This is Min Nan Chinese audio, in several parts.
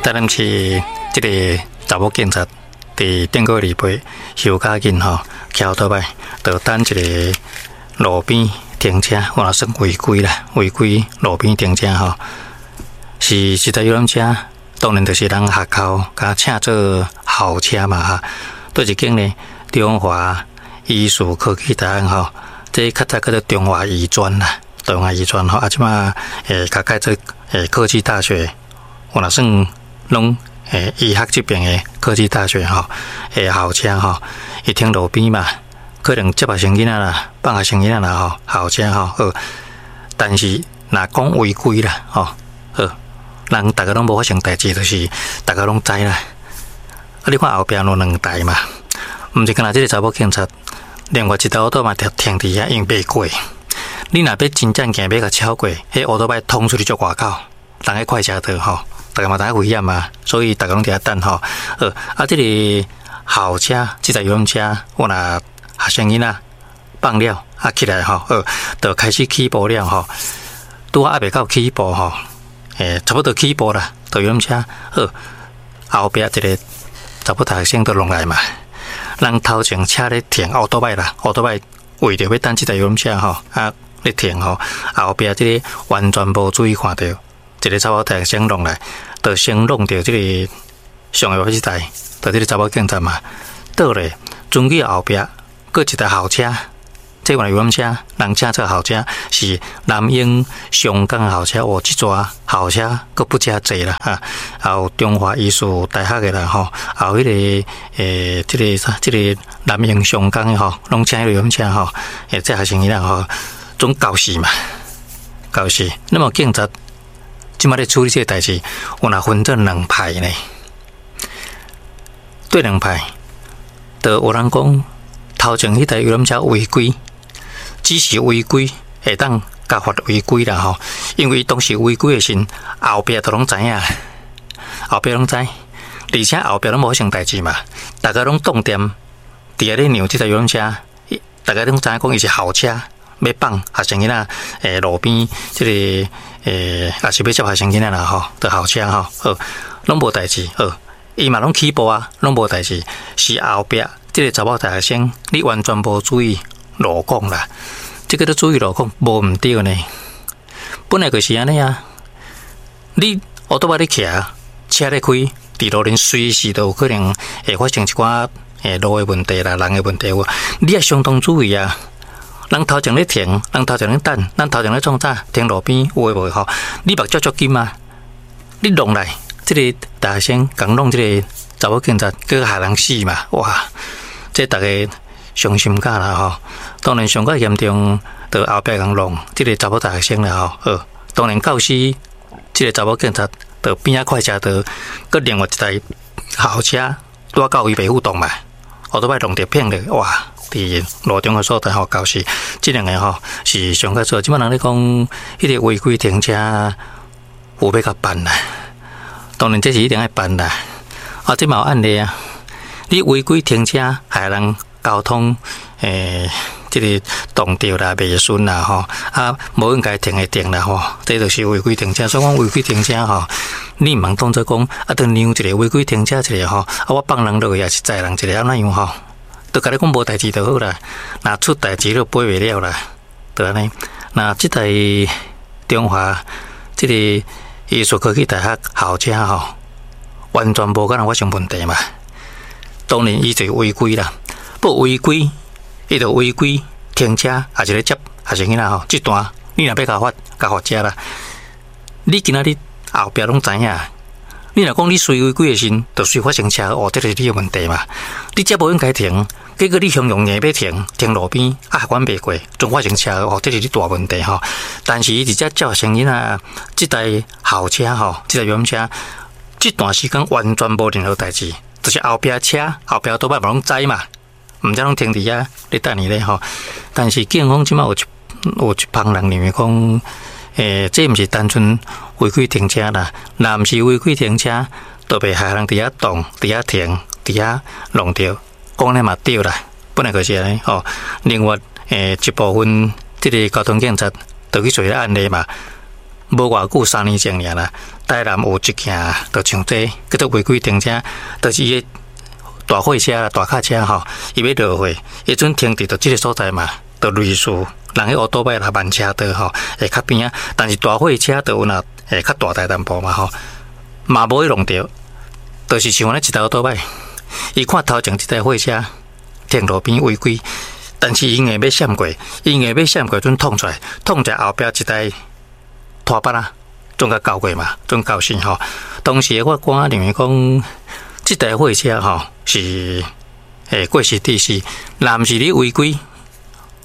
台南市這个查某警察佇頂個禮拜休較緊吼，騎歐多擺，就等一个路邊停車，有若算違規啦，違規路邊停車吼，是這台遊覽車，當然就是人學校共請做校車嘛哈。佗一間呢，中華醫事科技大學吼，這較早叫做中華醫專啦，中華醫專吼，啊，這馬共改做科技大學，有若算攏醫學這邊的科技大學吼，校車吼，伊停路邊嘛，可能接學生囡仔啦，放學生囡仔啦吼，校車吼，好，但是若講違規啦，吼，好，人逐家攏無發生代誌，就是逐家攏知啦。啊，你看後壁有兩台嘛，毋是干焦這个查某警察，另外一台烏托嘛停停佇遐，因為袂過。你若欲真正行欲共超過，彼烏托擺通出去足外口，人彼快車道吼，逐家嘛知影危險嘛，所以逐家攏佇遐等吼。好，啊，這个校車，這台遊覽車，我若學生囡仔放了啊起來吼，好，就開始起步了吼。拄仔猶未到起步吼，差不多起步啦，就遊覽車好，後壁一个查某大學生就落來嘛。人頭前車咧停，烏托擺啦，烏托擺為著欲等這台遊覽車吼，啊咧停吼，後壁這个完全無注意看著，一个查某大學生落來，就先弄著這个上下這台，就這个查某警察嘛，倒咧，終於後壁閣一台校車，這原來遊覽車，人請做校車是南英上港校車，哦，這逝校車閣不遮濟啦，哈，還有中華醫事大學的啦，吼，還有彼个這个啥，這个南英上港的吼，攏請彼个遊覽車吼，這學生囡仔吼，總教死嘛，教死。那麼警察這馬咧處理這个代誌，有若分做兩派呢，對兩派，就有人講頭前彼台遊覽車違規。只是違規，會當共罰違規啦吼，因為當時違規的時，後壁都攏知影，後壁攏知，而且後壁攏無發生代誌嘛，逐家攏擋踮佇遐咧讓這台遊覽車，逐家攏知影講伊是校車，欲放學生囡仔，路邊這个也是欲接學生囡仔啦吼，的校車吼，好，攏無代誌，好，伊嘛攏起步啊，攏無代誌，是後壁這个查某大學生，你完全無注意路況啦，這个都注意路況無毋對呢。本來就是按呢啊，你烏托擺咧騎，車咧開，佇路頂隨時都有可能會發生一寡路的問題啦，人的問題有。你愛相當注意啊！人頭前咧停，人頭前咧等，人頭前咧創啥？停路邊有的無吼？你目睭足緊啊！你弄來，這个大學生共弄這个查某警察，閣害人死嘛！哇！這逐家傷心甲啦吼！當然上較嚴重，就後壁共弄這个查某大學生啦吼。好，當然教死這个查某警察，就邊仔快車道，閣另外一台校車拄仔到伊袂赴動嘛，烏托擺弄著騙著，哇！佇路中的所在吼，教死這兩个吼是上較少。這擺人咧講，彼个違規停車有欲共辦啦，當然這是一定愛辦啦。啊，這嘛有案例啊，你違規停車害人交通這个擋著啦、袂順啦吼，啊，無應該停的停啦吼，這就是違規停車。所以講違規停車吼，你毋通當做講啊，就讓一个違規停車一个吼，啊，我放人落去也是載人一个，按怎樣吼？就共你講無代誌就好啦，若出代誌就背袂了啦，就按呢。那這台中華這个醫事科技大學校車吼，完全無可能發生問題嘛。當然伊就違規啦，不違規，伊就違規停車，抑是咧接學生囡仔吼。這段你若欲共罰，共罰遮啦。你今仔日後壁攏知影。你若講你隨違規的時，就隨發生車禍，這就是你的問題嘛。你遮無應該停，結果你雄雄硬欲停，停路邊啊，管袂過，總發生車禍，這是你大問題吼。但是伊佇遮接學生囡仔，這台校車吼，這台遊覽車，這段時間完全無任何代誌，就是後壁車、後壁多擺嘛攏知嘛，毋知攏停佇遐咧等伊咧吼。但是警方這擺有一幫人認為講，這毋是單純違規停車啦，若毋是違規停車，就袂害人佇遐擋、佇遐停、佇遐弄著，講咧嘛對啦，本來就是按呢吼。另外，一部分這个交通警察就去做彼個案例嘛，無偌久3年前爾啦，台南有一件，就像這叫做違規停車，就是伊的大貨車啦、大卡車吼，伊欲落貨，伊陣停佇著這个所在嘛，就類似人彼烏多擺啦慢車道吼，會較邊仔，但是大貨車就有若會較大台淡薄嘛吼，嘛無去弄著，就是像按呢一台烏多擺，伊看頭前這台貨車停路邊違規，但是伊硬欲閃過，伊硬欲閃過，陣碰出來，碰出來後壁一台拖板仔，總共交過嘛，總交死吼。當時的法官認為講，這台貨車吼是過失致死，若毋是你違規，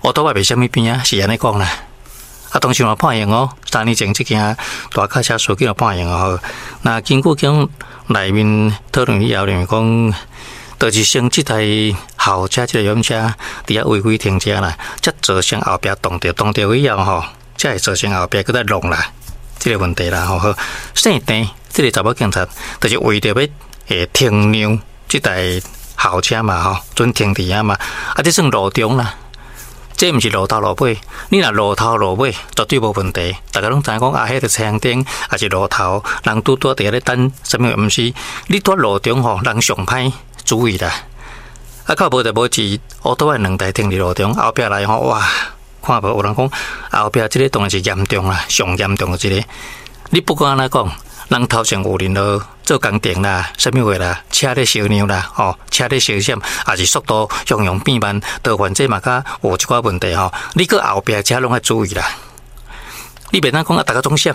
烏多擺袂啥物邊仔，是按呢講啦。啊，當時嘛判刑哦，3年前這件大卡車事件嘛判刑哦。那根據講內面討論以後，認為講，就是先這台校車、這个遊覽車佇遐違規停車啦，才造成後壁撞著，撞著以後吼，才會造成後壁閣再弄啦，這个問題啦吼。好，姓鄭這个查某警察，就是為著欲停讓這台校車嘛吼，準停佇遐嘛，啊，這算路中啦。這毋是路頭路尾，你若路頭路尾絕對無問題。逐家攏知影講啊，彼个青燈抑是路頭，人拄拄佇遐咧等啥物？毋是，你佇路中吼，人上歹注意啦。啊，較無就無是烏多擺兩台停佇路中，後壁來吼，哇，看無有人講後壁這个當然是嚴重啦，上嚴重的一个。你不管按怎講，人頭前有任何做工程啦，啥物話啦，車咧相讓啦，吼，車咧相閃，抑是速度雄雄變慢，都反正嘛較有一寡問題吼。你閣後壁車攏愛注意啦。你袂當講啊，逐家總閃，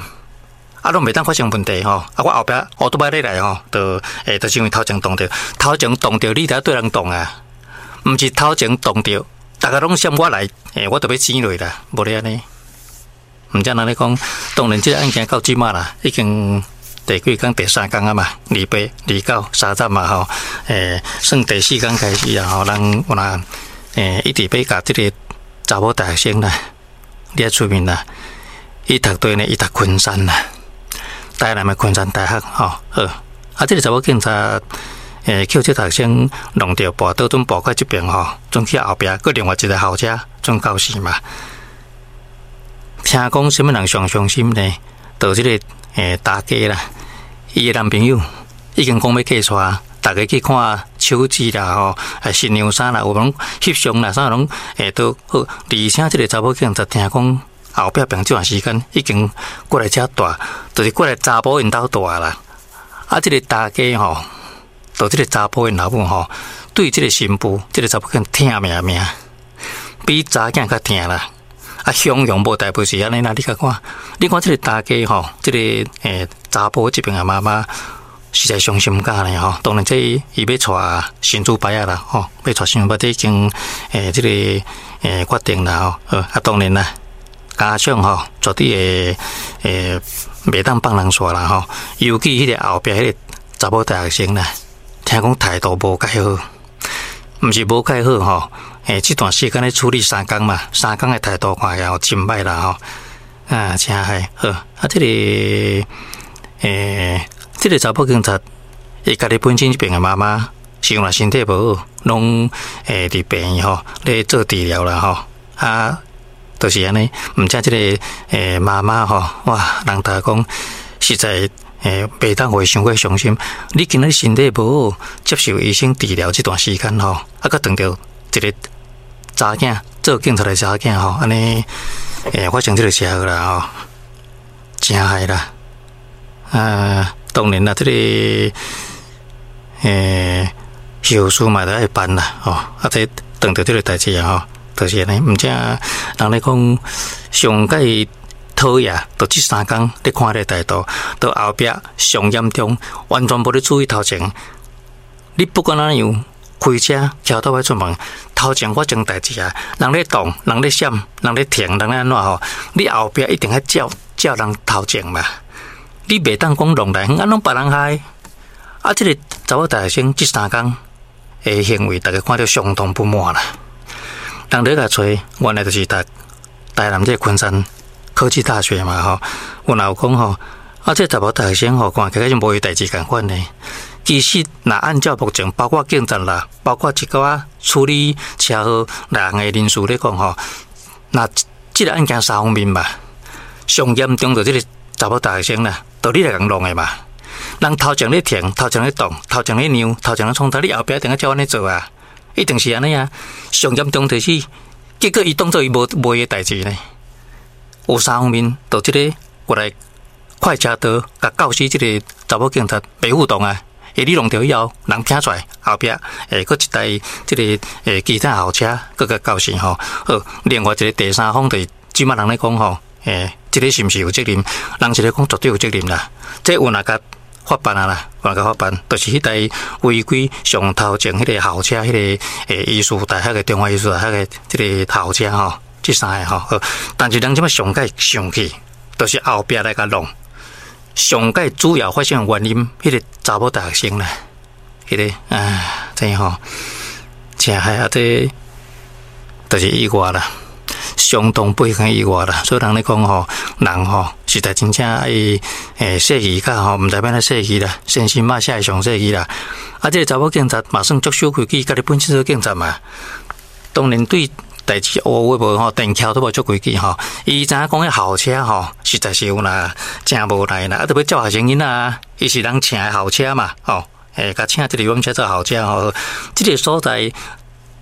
啊，攏袂當發生問題吼。啊，我後壁烏多擺咧來吼，就就是因為頭前撞著，頭前撞著，你著愛對人撞啊，毋是頭前撞著，逐家攏閃我來，我著欲錢落啦，無咧按呢。毋知人咧講，當然這个案件到這馬啦，已經第幾工？第三工啊嘛，28、29、30嘛吼，算第四工開始啊吼，人有若一直欲共這个查某大學生啦，你愛出面啦，伊讀對呢，伊讀昆山啦，台南的昆山大學吼，好，啊，這个查某警察，去這大學生弄著跋倒，陣跋到這邊吼，陣去後壁，閣另外一个校車陣肇事嘛。聽講啥物人上傷心呢？就這个大家啦，伊的男朋友已經講欲嫁娶，逐家去看手指啦吼，新娘衫啦，有攏翕相啦，啥攏都好。而且這个查某囝就聽講後壁這段時間已經過來遮住，就是過來查埔𪜶兜住啦。啊，這个大家吼，就這个查埔𪜶老母吼，對這个新婦，這个查某囝疼命命，比查囝較疼啦。啊，雄雄無代誌是按呢啦，你共看，你看這个大家吼，這个查埔這邊的媽媽實在傷心甲呢吼。當然這伊欲娶新主牌仔啦吼，欲娶新主牌仔已經這个決定啦吼。啊，當然啦，家長吼絕對會袂當放人煞啦吼。尤其彼个後壁彼个查某大學生啦，聽講態度無蓋好，毋是無蓋好吼。這段時間咧處理三工嘛，三工的態度看起來真歹啦吼，啊，真害好。啊，這个這个查某警察，伊家己本身這邊的媽媽是因為身體無好，攏佇病院吼咧做治療啦吼。啊，就是按呢，毋知這个媽媽吼，哇，人逐家講實在袂當予伊傷過傷心。你今仔身體無好，接受醫生治療這段時間吼，啊，閣撞著一个查囝做警察的查囝吼，按呢發生這个車禍啦吼，真害啦！啊，當然啦，這个後事嘛著愛辦啦吼，啊，這撞著這个代誌啊吼，就是按呢，毋知人咧講上蓋討厭，就這三工咧看這个態度，到後壁上嚴重，完全無咧注意頭前。你不管按怎樣，開車騎倒欲出門，頭前發生代誌啊，人咧擋，人咧閃，人咧停，人咧按怎吼？你後壁一定愛照照人頭前嘛。你袂當講弄來，按攏別人害。啊，這个查某大學生這三工的行為，逐家看著相當不滿啦。人咧共揣，原來就是讀台南這个昆山科技大學嘛吼。有人有講吼，啊，這个查某大學生吼，看起來是無伊代誌仝款呢。其實，若按照目前，包括警察啦，包括一寡處理車禍人的人士咧講吼，若這个案件三方面吧，上嚴重就這个查某大學生啦，就你來共弄的嘛。人頭前咧停，頭前咧擋，頭前咧讓，頭前咧創啥，你後壁一定愛照按呢做啊！一定是按呢啊！上嚴重就是，結果伊當做伊無無伊的代誌呢。有三方面，就這个過來快車道，共教死這个查某警察袂互動啊！伊你弄著以後，人聽出來後壁會閣一台這个其他校車閣共教死吼。好，另外一个第三方就是這擺人咧講吼，這个是毋是有責任？人是咧講絕對有責任啦。這有若共法辦啊啦，有若共法辦，就是彼台違規上頭前彼个校車，彼个藝術大學的中華藝術大學的這个校車吼，這三个吼。好，但是人這擺上蓋生氣，就是後壁來共弄。上蓋主要發生的原因，彼个查某大學生啦，彼个啊，這吼，真害啊！這就是意外啦，相當不幸意外啦。所以人咧講吼，人吼實在真正愛細膩較吼，毋知欲按怎細膩啦，先生嘛寫會上細膩啦。啊，這个查某警察嘛算足守規矩，家己本身做警察嘛，當然對代誌有無吼，電橋都無足規矩吼。伊知影講彼校車吼，實在是有若誠無奈啦，啊，著欲接學生囡仔，伊是人請的校車嘛，吼，共請這个遊覽車做校車吼，這个所在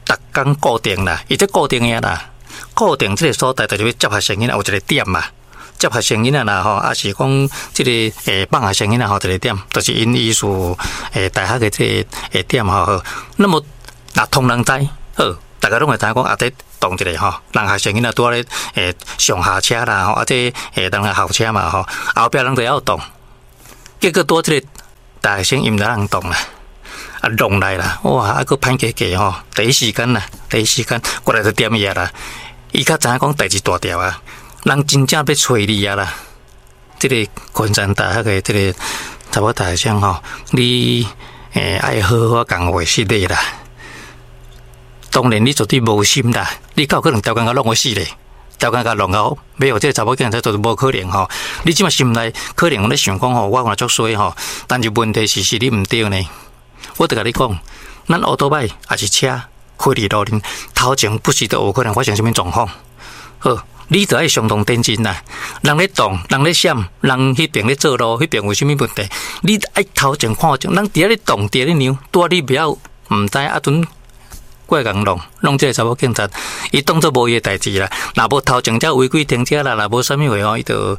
逐工固定啦，伊這固定的啦，固定這个所在就是欲接學生囡仔有一个點嘛，接學生囡仔啦吼，啊是講這个放學生囡仔吼一个點，就是𪜶藝術大學的這个點吼。那麼若通人知，好，逐家攏會知影講啊，這擋一下吼，人學生囡仔拄仔咧上下車啦吼，啊這人來校車嘛吼，後壁人就猶擋，結果拄這个大學生伊毋知人擋啦，啊弄來啦，哇，啊閣歹計計吼，第一時間啦，第一時間過來就點伊啦，伊較知影講代誌大條啊，人真正欲揣你啊啦，這个昆山大學的這个查某大學生吼，你愛好好講話失禮啦。當然你絕對無心啦，你敢有可能刁工共弄予死咧？刁工共弄到欲予這个查某警察都無可能吼。你這擺心內可能有咧想講吼，我有足衰吼，但是問題是是你毋對呢。我著共你講，咱歐多擺抑是車開佇路頂頭前，不時都有可能發生啥物狀況。好，你著愛相當認真啦。人咧擋，人咧閃，人彼邊咧做路，彼邊有啥物問題，你愛頭前看前，人佇遐咧擋，佇遐咧讓，拄仔你袂曉毋知啊陣。過來共弄，弄這个查某警察，伊當做無伊的代誌啦。若無頭前才違規停車啦，若無啥物話吼，伊就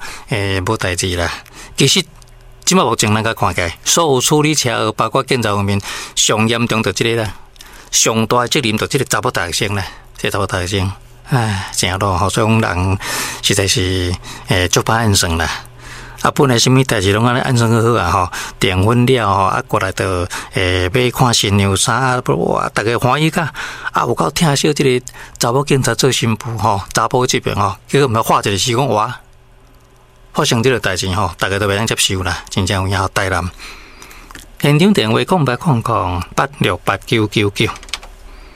無代誌啦。其實這擺目前咱共看起來，所有處理車禍，包括警察方面，上嚴重就這个啦，上大的責任就這个查某大學生啦，這个查某大學生，唉，誠老吼，所以講人實在是足歹按算啦。啊，本來啥物代誌攏按呢按算好好啊吼，訂婚了吼，啊過來就欲看新娘衫啊，哇，逐家歡喜甲啊有夠疼惜這个查某警察做新婦吼，查埔這邊吼，結果毋知話一個時講哇，發生這個代誌吼，逐家都袂當接受啦，真正有影台南。現場電話0800868999。